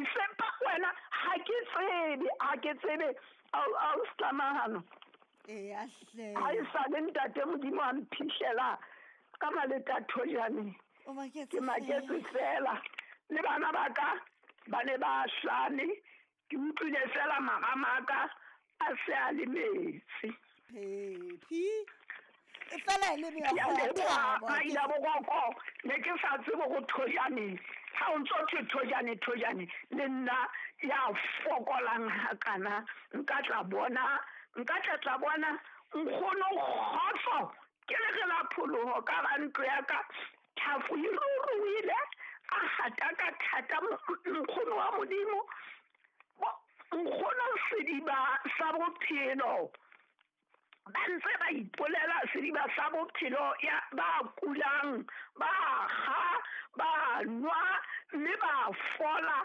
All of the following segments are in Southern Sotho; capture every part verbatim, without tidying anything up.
December wena ha ke tsebe ha ke tsebe au au stamahano e a hle ha e sa le ntate Modimo a mphihlela ka maleta thojane o maketse ke maketse fela le bana ba ka ba ne ba hlane ke utlwile fela maramaka a se a le metsi phephi e fela e le Ke a leboha Maila Boroko ne ke sa tsebe go thojane ha o ntso thwe thojane thojane le nna ya fokolang hakana nka tla bona nka tla tla bona nkgono kgotso ke le re la pholoho ka ga ntlo ya ka tlhafo e ruruhile a hata ka thata nkgono wa Modimo nkgono sediba sa bophelo ba ntse ba ipolela sediba sa bophelo ya ba kulang ba kga ba nwa mme ba fola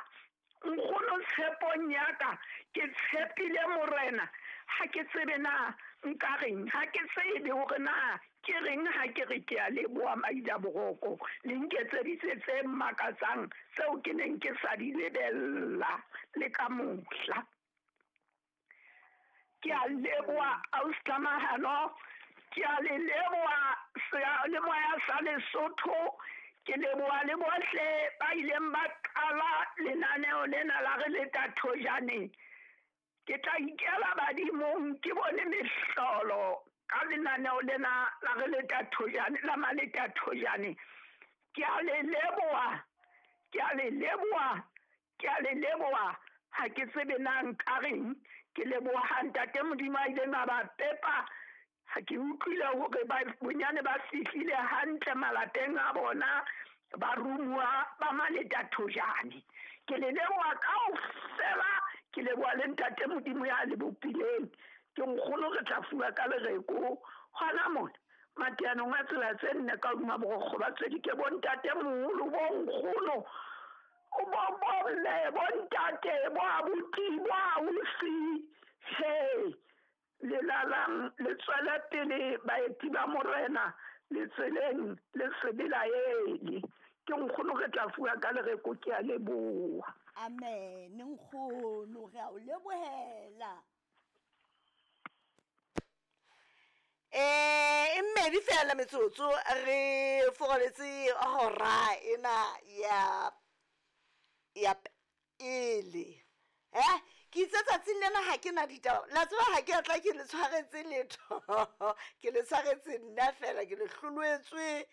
nkgono tshepong ya ka ke tshepile morena ha ke tsebe na nka reng ha ke tsebe hore na ke reng ha ke re ke a leboha Maila Boroko le nketseditse tse makatsang tseo ke neng ke sa di lebella le ka mohla. Ke a leboha Austamahano ke a le leboha seyalemoya sa Lesotho ke leboha le bohle ba ileng ba qala lenaneo lena la re leta thojane. Ke tla ikela badimong ke bone mehlolo ka lenaneo lena la re leta thojane la maleta thojane. Ke a le leboha ke a le leboha ke a le leboha ha ke tsebe na nka reng ke leboha ntate Modimo a ileng a ba pepa ha ke utlwile hore ba bonyane ba fihlile hantle malapeng a bona ba rumuwa ba maleta thojane. Ke le leboha kaofela ke leboha le ntate Modimo ya le bopileng ke nkgono re tla fuwa ka lereko hona mona mateanong a tsela tse nne ka hodima borokgo ba tswedi ke bontate moholo bo nkgono bo bomme bontate bo abuti bo ausi he le lalang le tswele pele baeti ba morena le tseleng le se belaele ke nkgono re tla fuwa ka lereko ke a leboha. Amen nkgono re a o lebohela. Eh e mmedi fela metsotso re fogaletse hora ena ya ya pele eh ke itse tsatsing lena ha ke na ditaba la tseba ha ke atla ke le tshwaretse letho ke le tshwaretse nna fela ke le hloloetswe